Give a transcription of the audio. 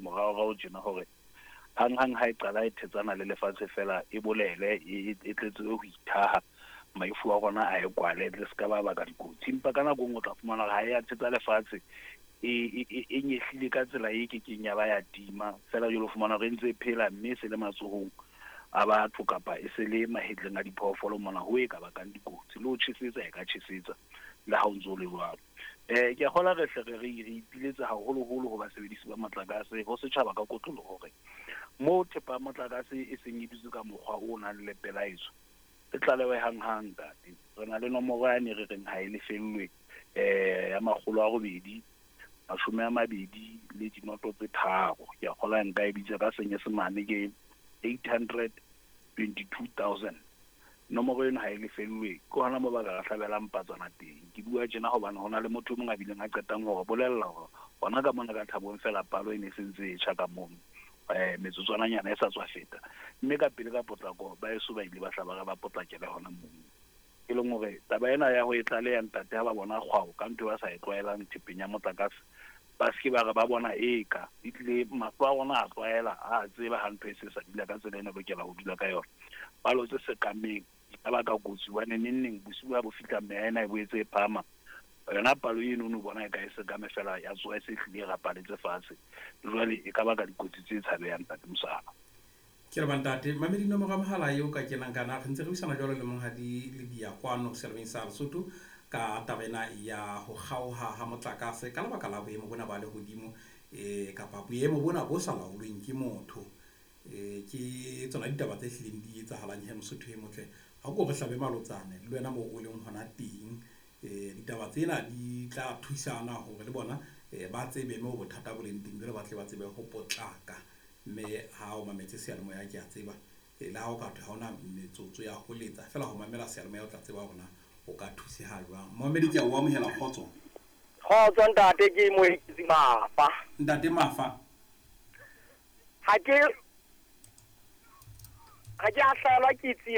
moraorao tjena hore hanghang ha e qala e thetsana le lefatshe feela e bolele e tletse ho ithaha maifu a rona a e kwale tle se ka ba baka dikotsi. Empa ka nako e nngwe o tla fumana hore ha e ya thetsa lefatshe e nyehlile ka tsela e kekeng ya ba ya tima feela. Jwale o fumana hore e ntse e phela mme e se le matsohong a batho kapa e se le mahetleng a diphoofolo mona ho e ka bakang dikotsi. Le ho tjhesetsa e ka tjhesetsa le ha o ntso o le jwalo. Ke a kgolwa re hle re re ipiletsa haholoholo ho basebedisi ba motlakase, ho setjhaba ka kotloloho hore moo thepa ya motlakase e seng e dutse ka mokgwa o nang le pelaetso, e tlalewe hanghang ntate. Re na le nomoro yane re reng ha e lefellwe ya 823. Ke a kgolwa nka e bitsa ka Senyesemane ke 822 000. Nomoro eno ha e lefellwe, ke hona moo ba ka re hlabelang patswana teng. Ke bua tjena hobane ho na le motho e mong a bileng a qetang hore bolella hore hona ka mona ka Thabong feela palo e ne e sentse e tjha ka mono metsotswananyana e sa tswa feta. Mme ka pele ka potlako ba eso ba ile ba hla ba re ba potlakele hona mono. E leng hore taba ena ya ho e tlaleha ntate ha ba bona kgwao ka ntho e ba sa e tlwaelang thepeng ya motlakase, ba se ke ba re ba bona eka e tlile mahlo a rona a tlwaela a tseba ha ntho e se sa dula ka tsela ena lokela ho dula ka yona. Palo tse sekameng di ka baka kotsi hobane neng neng bosiu ha bo fihla meya ena e boetse e phahama. Yona palo eno o no bona e ka e sekame fela ya tsoha e se hlile e rapaletse fatshe. Jwale e ka baka dikotsi tse tshabehang ntate Mosala. Ke re bantate mamedi nomoro ya mohala eo ka kenang kana re ntse re buisana jwalo le monghadi Lebia kwano seyalemoyeng sa Lesotho ka taba ena ya ho kgaoha ha motlakase ka lebaka la boemo bona ba lehodimo kapa boemo bona bo sa laolweng ke motho. Ke tsona ditaba tse hlileng di etsahalang he Mosotho e motle. Ha ko re hlabe malotsane le wena moo o leng hona teng. Ditaba tsena di tla thusana hore le bona ba tsebe moo bothata bo leng teng, jwale ba tle ba tsebe ho potlaka. Mme ha o mametse seyalemoya ke a tseba le ha o ka thwe ha hona metsotso ya ho letsa feela ho mamela seyalemoya o tla tseba hore na o ka thuseha jwang. Momamedi ke a o amohela, kgotso. Kgotso ntate, ke Moeketsi Mafa. Ntate Mafa. Ha ke a hlahelwa ke tsietsi.